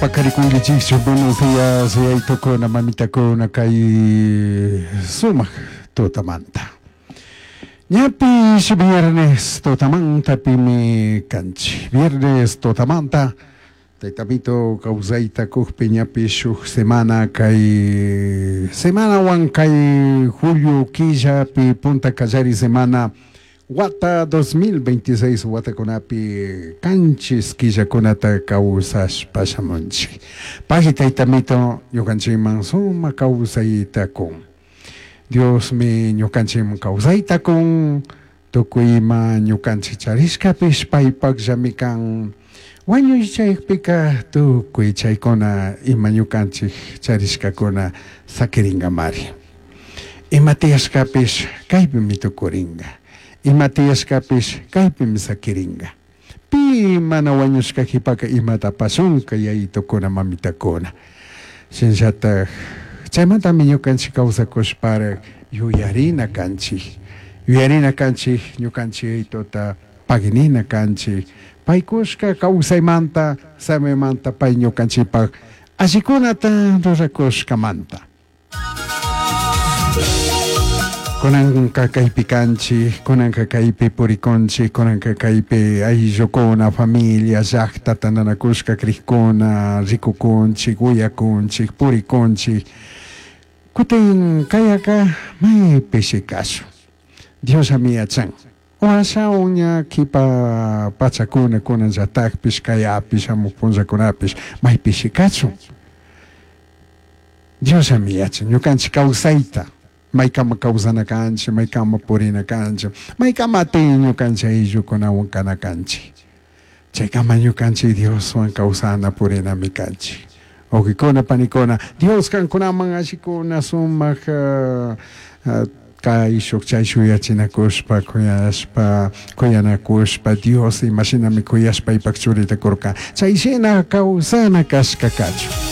Paqarikunkichikchu buenos días yaytukuna mamitakuna kay sumaq tutamanta. Ñapish viernes tutamanta pimi kanchik. Viernes tutamanta Taytamito kawsayta kukpi ñapish shuk semana kay semanawan kay julio killapi punta kallari semana wata 2026 watakunapi kanchis killakunata kawsashpa shamunchik. Pagui Taytamito ñukanchikman sumak kawsayta kun. Diosmi ñukanchikman kawsayta kun, tukuy ima ñukanchik charishkapish paypakllami kan. Wañuy chaypika tukuy chaykuna ima ñukanchik charishkakuna sakirinkamari. Ima tiyashkapish kaypimi tukurinka. Ima tiyashkapish kaypimi sakirinka. Pi mana wañushka qhipaka imata pasunka yayitukuna mamitakuna. Shinallatak chaymantami ñukanchik kawsakushparak yuyarina kanchik. Yuyarina kanchik ñukanchik yayituta paginina kanchik. Paykushka kawsaymanta samaymanta pay ñukanchikpak allikunata rurakushkamanta. Kunanka kaypi kanchik, kunanka kaypi purikunchik, kunanka kaypi ayllukuna, familia, llaqta tantanakushka krikuna, rikukunchik, uyakunchik, purikunchik. Kutin kayaka maypishi kashun. Diosllami yachan. Washawan ña kipa pachakuna kunanllatakpish kayapish shamuj punllakunapish maypishi kachun. Diosllami yachan ñukanchik kawsayta maykama kawsana kanchik, maykama purina kanchik, maykama atin ñukanchik ayllukunawan kana kanchik. Chaykama ñukanchik Dioswan kawsana purinami kanchik. Wawqikuna, panikuna, Dios kankunaman allikuna sumak kayshuk chayshuk yachinakushpa, kuyashpa, kuyanakushpa, Dios imashinami kuyashpa paypak churita kurka, chayshina kawsana kashka kachun.